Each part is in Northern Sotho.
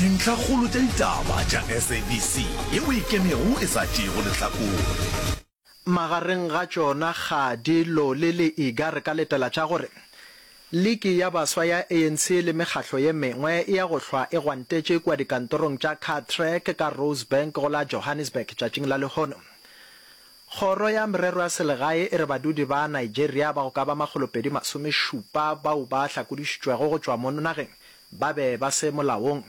Dintlhakgolo tša ditaba tša SABC yeo e ikemego e sa tšeego lehlakore. Magareng ga tšona Kgadi, Loli le Iga re ka letela tša gore Liki ya Baswa ya ANC le mekgahlo ye mengwe e ya go hlwa e gwantetše kua dikantorong tša Cartrack ka Rosebank go la Johannesburg tšatšing la lehono. Kgoro ya Merero ya Selegae e re badudi ba Nigeria ba go ka ba makgolopedi-masomešupa bao ba hlakodišitšwego go tšwa mono nageng ba be ba se molaong.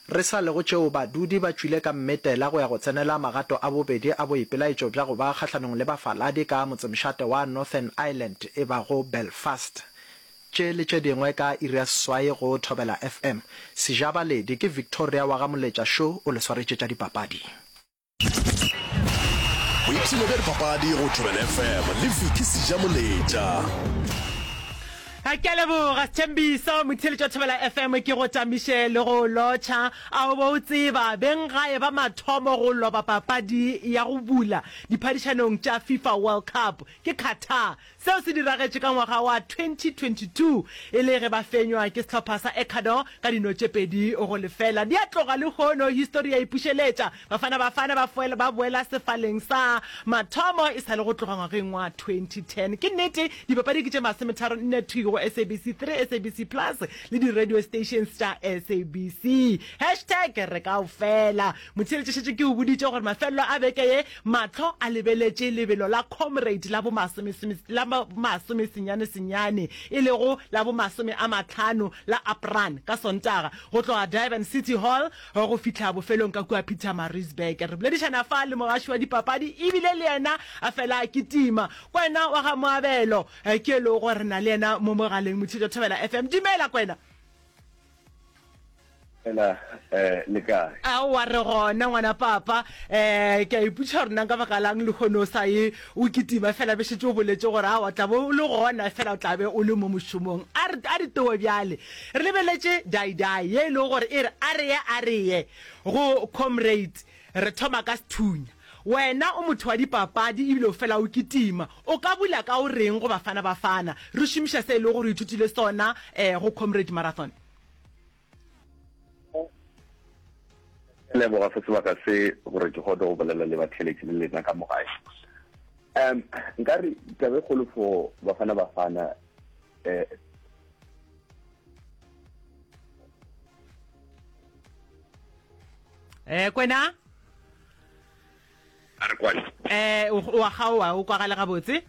Re sa le go tšeo badudi ba tšwile ka mmetela go ya go tsenela magato a bobedi a boipelaetšo bja go ba kgahlanong le bafaladi ka motsemošate wa Northern Ireland e bago Belfast. Tše le tše dingwe ka iri ya seswai go Thobela FM. Sejabaledi ke Victoria wa ga Moletša Šo o le swaretše tša dipapadi. Boipshino bja dipapadi go Thobela FM le Vicky Sejamoletša. Ke a leboga Sthembiso, motheeletši wa Thobela FM, ke go tamiše le go lotšha. A o be o tseba, beng gae ba mathomo go loba papadi ya go bula diphadišanong tša FIFA World Cup ke Qatar. Seo se diragetše ka ngwaga wa 2022 e le ge ba fenywa ke sehlopha sa Ecuador ka dino tše 2-0. Di a tloga lehono, histori ya ipušeletša. Bafana Bafana ba foela ba boela sefaleng sa mathomo e sa le go tloga ngwageng wa 2010. Ke nnete, dipapadi ke tše masometharone thwi go SABC 3, SABC Plus le di-radio stations tša SABC. Hashtag re kaofela. Motheeletši šetše ke o boditše gore mafelelo a beke ye Mahlo a lebeletše lebelo la Comrade la la bomasomesenyane-senyane, e lego la bomasome a mahlano la Aprun ka Sontaga, go tloga Durban City Hall go fihla bofelong ka kua Pietermaritzburg. Re boledišana fa le mogaši wa dipapadi ebile le yena a fela a kitima. Kwena wa ga Moabelo ke e lego gore re na le yena mo mogaleng, Motšhitšo Thobela FM. Dumela Kwena. Fela eh le kae? Aowa re gona ngwana papa. Eh ke a ipotšiša gore na nka baka lang lehono o sa ye o kitima fela be šetše o boletše gore aowa tla be o le gona fela o tla be o le mo mošomong. A re a ditowe bjale. Re lebeletše Daidai ye e lego gore e re a re ye a re ye go comrade re thoma ka sethunya. Wena o motho wa dipapadi ebile o fela o kitima. O ka bula ka o reng go Bafana Bafana re šomiša se e lego gore o ithutile sona eh go comrade marathon? Ke leboga se sebaka se gore ke kgone go bolela le batheeletši le lena ka mo gae. Um nka re taba e kgolo for Bafana Bafana eh Eh kwena? A re kwane. Eh o a kgaoa o kwagale gabotse?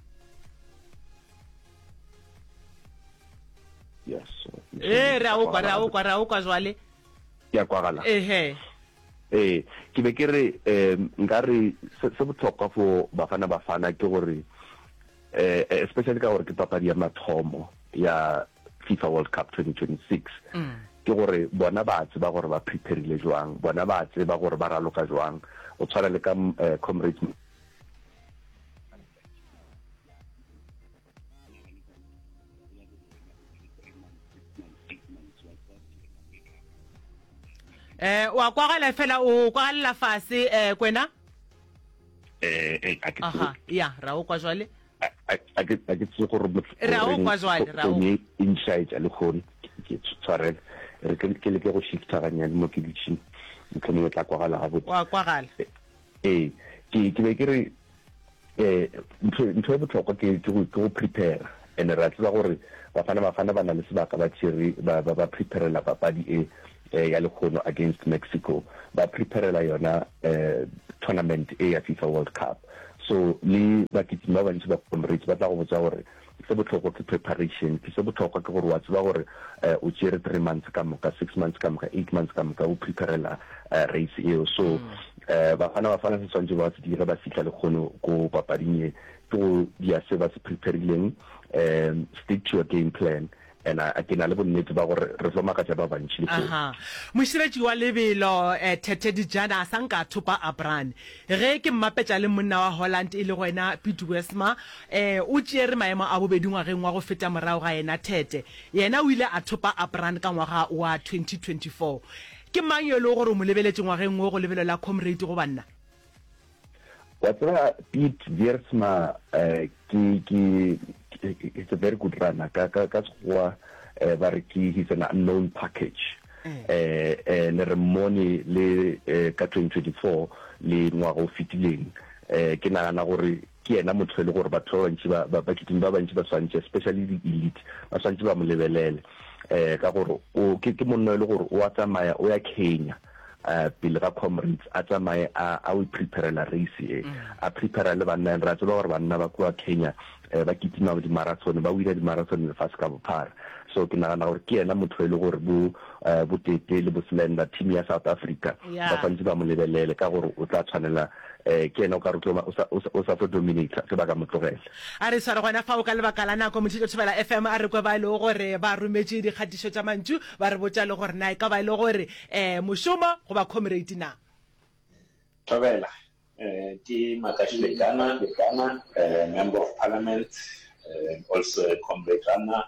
Yes. Eh re a o kwa re a o kwa re a o kwa jwale. Ke a kwagala. Ehe. Ee, ke be ke re um nka re se se bohlokwa for Bafana Bafana ke gore eh especially ka gore ke papadi ya mathomo ya FIFA World Cup 2026 ke gore bona ba tseba gore ba preparile jwang, bona ba tseba gore ba raloka jwang. Go tshwana le ka eh, Comrades Eh wa kwagala fela o kwagalela fase eh kwena? Eh, eh a ke Aha, ya ra o kwa jwale. A ke a ke tsebe gore Re a o kwa jwale, re a o. Founu e nšaetša lehono, ke tshwarele. Re ke ke leke go shifta gannyane mo ke dutšeng, mohlomongwe e tla kwagala gabotse. Wa kwagala. Ee, ke ke be ke re eh ntho ntho e bohlokwa ke ke go ke go prepare and re a tseba gore Bafana Bafana ba na le sebaka ba tšere ba ba ba preparela papadi e eh, ya lehono against Mexico ba preparela yona eh tournament e ya FIFA World Cup so le bakitimi ba bantši ba Comrades ba tla go botša gore Se bohlokwa ke preparation. Ke se bohlokwa ke gore wa tseba gore o tšere three months ka moka, six months ka moka, eight months ka moka o preparela race eo. So Bafana Bafana se swantše ba se dire ba fihla lekgono ko papading ye ke go dia se ba se preparileng, stick to your game plan. And a ke na le bonnete ba gore re tlo makatša ba bantši lehono. Aha. Moširetši wa lebelo, Tete Dijana a sa nka a thopa Abran. Ge ke mmapetša le monna wa Holland e lego yena Piet Wiersma, o tšeere maemo a bobedi ngwageng wa go feta morago ga yena Tete. Yena o ile a thopa Abran ka ngwaga wa 2024. Ke mang yo e lego gore o mo lebeletše ngwageng wo go lebelo la Comrade go banna? Wa tseba Piet Wiersma ke ke he's a very good runner ka ka ka sekgowa ba re ke he's an unknown package and. And re mmone le ka 2024 le ngwaga o fetileng. Ke nagana gore ke yena motho e le gore batho ba bantši ba, ba, bakitimi ba bantši ba swantše, especially di-elite, ba swantše ba mo lebelele. Ka gore o, ke, ke monna e le gore o a tsamaya o ya Kenya, pele ga Comrades, a tsamaye a, a o preparela race e. A prepara le banna, and re a tseba gore banna ba kua Kenya, ba kitima di-marathon, ba wina di-marathon lefase ka bophara. So ke nagana gore ke yena motho e le gore bo, bo Tete le bo Slender, team ya South Africa, ba swantše ba mo lebelele ka gore o tla tshwanela, ke yena o ka re o tlo ba, o sa, o sa, o sa tlo dominator ge ba ka mo tlogela. A re sware gona fao ka lebaka la nako, Motšhetšo Thobela FM a re kwe ba e lego gore ba rometše dikgatišo tša mantšu, ba re botša le gore na e ka ba e le gore um mošomo goba comrade na. Thobela, ke Makashule Gana, Member of Parliament, also a comrade runner,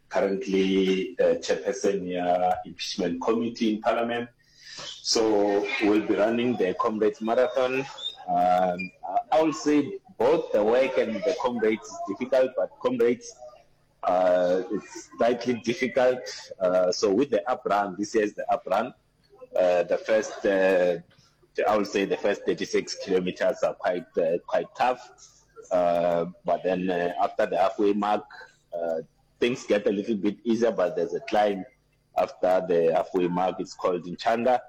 currently Chairperson ya Impeachment Committee in Parliament. So we'll be running the Comrades Marathon. Um, I will say both the work and the comrades is difficult, but comrades uh, it's slightly difficult. Uh, so with the up run, this year is the up run. Uh, the first, uh, I will say the first 36 kilometers are quite uh, quite tough. Uh, but then uh, after the halfway mark, uh, things get a little bit easier, but there's a climb after the halfway mark. It's called Nchanga,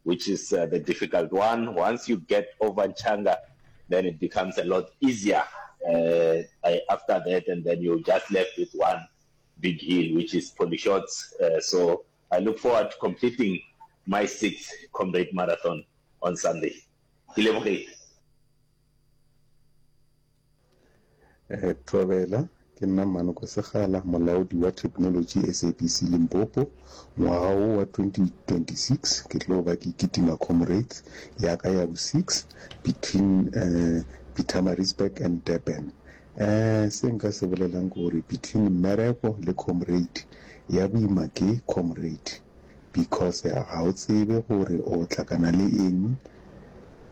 which is uh, the difficult one. Once you get over Nchanga, then it becomes a lot easier uh, after that, and then you're just left with one big hill, which is Polyshots. Uh, so I look forward to completing my sixth Comrade Marathon on Sunday. Ke lebogile. Eh, Thobela, ke nna Mmanoko Segala, molaodi wa Theknolotši SABC Limpopo. Ngwaga wo wa 2026 ke tlo ba ke kitima Comrades ya ka ya bo six between eh, Pietermaritzburg and Durban. Eh, se nka se bolelang ke gore between mmereko le Comrade, ya boima ke Comrade. Because ga o tsebe gore o hlakana le eng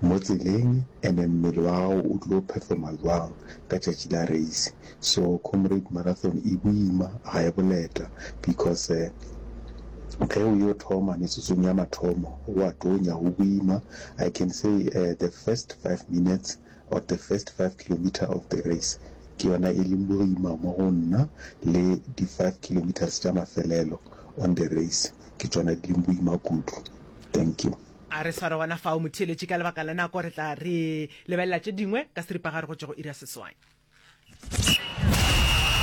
mo tseleng and mmele wa gago o tlo performa jwang ka tšatši la race. So Comrade Marathon e boima ga e boleta because ge o yo thoma metsotsong ya mathomo go a tonya go boima. I can say the first five minutes or the first five kilometre of the race ke yona e leng boima mo go nna le di five kilometres tša mafelelo on the race ke tšona di leng boima kudu. Thank you. A re sware gona fao motheeletši ka lebaka la nako re tla re lebelela tše dingwe ka seripagare go tšwa go iri ya seswai.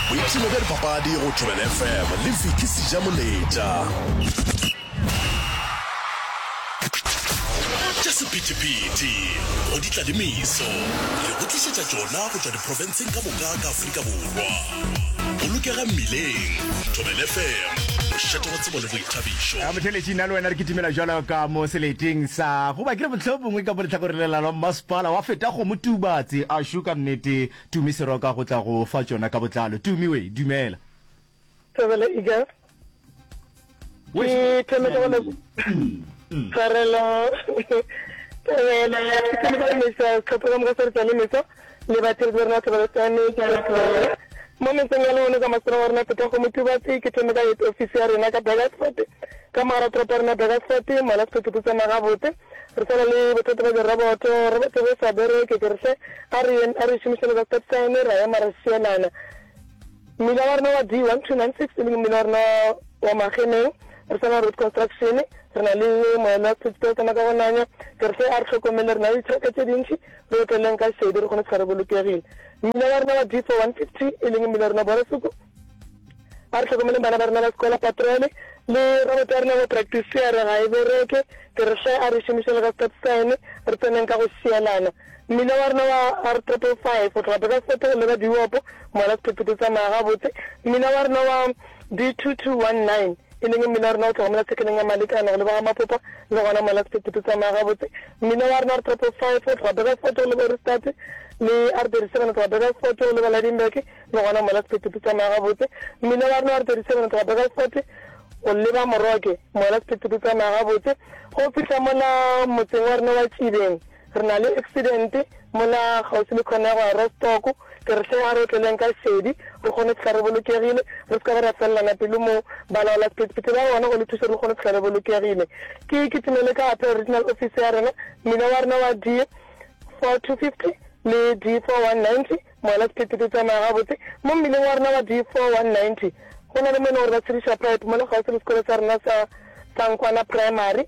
Boipshino bja dipapadi go Thobela FM le Vicky Sejamoletša. Tša sephethephethe go di tla le meso re go tlišetša tšona go tšwa diprofenseng ka moka ka Afrika Borwa. Bolokega mmileng, Thobela FM, mošate wa tsebo le boithabišo. A motheeletši, nna le wena re kitimela bjalo ka mo seleteng sa goba ke re mohlomongwe ka mo lehlakoreng le la mmasepala wa feta kgomo Tubatse a šo ka nnete Tumi Seroka go tla go fa tšona ka botlalo. Tumi we, dumela. Thobela Eagle. Ke thome ka go le tshwarelo. Thobela, ke thome ka go lebogiša sehlopha ka moka sa Re Tswa le Meso le batheeletši ba rena Thobela Sane ke a leboga. Mo metseng ya lehono ka masepala wa rena Phethago Motubatse ke thome ka head office ya rena ka Burgersfort ka mogara toropo ya rena Burgersfort mola sephethephethe tsamaya gabotse re sa na le bothata bja diroboto roboto ge e sa bereke ke re hle a re a re šomišane ka stop sign ra ema ra šielana Mmila wa rena wa D1296 e leng mmila wa rena wa Mageneng, re sa na road construction, re na le moelo wa sephethephethe o tsamaya ka go nanya. Ke re hle a re hlokomele, re na le ditšhelete tše dintši, re otleleng ka šedi re kgone go re bolokegile. Mmila wa rena wa D4150 e leng mmila wa rena Boresoko, a re hlokomeleng bana ba rena ba sekola, patrole le roboto ya rena go practice ya re ga e bereke. Ke re hle a re šomišeng ka stop sign, re tseneng ka go šielana. Mmila wa rena wa R triple five go tloga Burgersfort go leba Diopo, mola sephethephethe tsamaya gabotse. Mmila wa rena wa D 2219 e leng mmila wa rena go tloga mola tshekeleng ya Malekana go leba ga Mapopa le gona mola sephethephethe tsamaya gabotse. Mmila wa rena R triple five go tloga Burgersfort go leba Ohrigstad le R 37 go tloga Burgersfort go leba Lydenburg le gona mola sephethephethe tsamaya gabotse. Mmila wa rena wa R 37 go tloga Burgersfort go leba Moroke mola sephethephethe tsamaya gabotse go fihla mola motseng wa rena wa Tšibeng. Re na le accident mola kgauswi le khona ya go ya Rostock. Ke re hle a re otleleng ka šedi, re kgone go fihla re bolokegile, re se ka ba ra felelana pelo mo. Balaola sephethephethe ba gona go le thuša re kgone go fihla re bolokegile. Ke kitimele ka Appeal Regional Office ya rena, mmila wa rena wa D4250 le D4190, mola sephethephethe tsamaya gabotse. Mo mmileng wa rena wa D4190 go na le mo e leng gore ba tshediša pipe mola kgauswi le sekolo sa rena sa Sankwana Primary.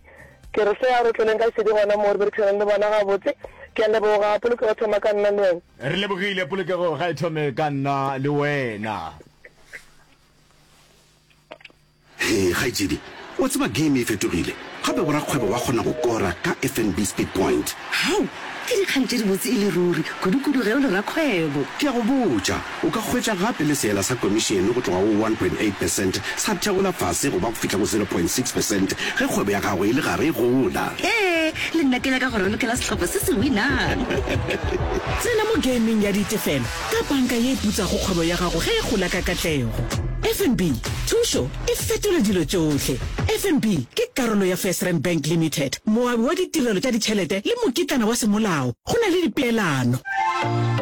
Ke re hle a re tloleng ka šedi gona moo re berekišaneng le bona gabotse. Ke a leboga. Polokego thoma ka nna le wena. Re lebogile. Polokego ga e thome ka nna le wena. Hee kgaetšedi, wa tseba game e fetogile, gape borakgwebo ba kgona go kora ka FNB Speed Point. Hao! Ke dikgang tše dibotse e le ruri, kudu-kudu ge o le rakgwebo. Ke a go botša, o ka hwetša gape le seela sa komišene go tloga go 1.8 percent sa theola fase go ba go fihla go 0.6 percent ge kgwebo ya gago e le gare e gola. Hee, le nna ke nyaka go ralokela sehlopha se se winang. Tsena mo gameng ya ditefelo Ka panka ye e putsago kgwebo ya gago ge e gola ka katlego. FNB, thušo e fetola dilo tšohle. FNB ke karolo ya FirstRand Bank Limited, moabi wa ditirelo tša ditšhelete le mokitlana wa semolao. Go na le dipeelano.